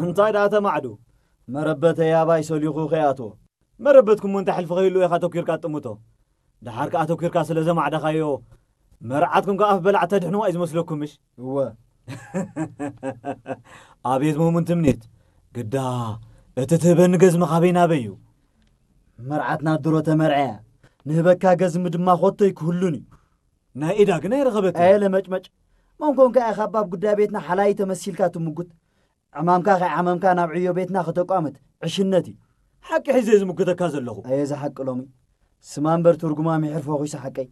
እንታይ ደኣ ተማዕዱ? መረበተይ ኣባይ ሰሊኹ ከይኣትዎ። መረበትኩም እንታይ ሕልፊ ከይህልዎ ኢኻ ኣተኪርካ ትጥምቶ? ደሓር ከኣ ኣተኪርካ ስለ ዘማዕደኻዮ፣ መርዓትኩም ከኣ ኣፍ በላዕ ተድሕንዋ እዩ ዝመስለኩም፣ ምሽ? እወ። ኣቤት መሙን ትምኒት! ግዳ፣ እቲ ትህበኒ ገዝሚ ካበይ ናበይ እዩ? መርዓትና ድሮ ተመርዐያ። ንህበካ ገዝሚ ድማ ኮቶይ ክህሉን እዩ። ናይ ኢዳ ግን ኣይረኸበትን። ኣየለ መጭመጭ። መንኮንካ ኢኻ ኣብ ጉዳይ ቤትና ሓላይ ተመሲልካ ትምጉት። ዕማምካ ከይዓመምካ ናብ ዕዮ ቤትና ከተቋምት ዕሽነት እዩ። ሓቂ ሒዘ ዝምጉተካ ዘለኹ። ኣየ ዝሓቂ ሎሚ። ስማ እምበር ትርጉማ ምሕር ፈኺሱ ሓቀይ።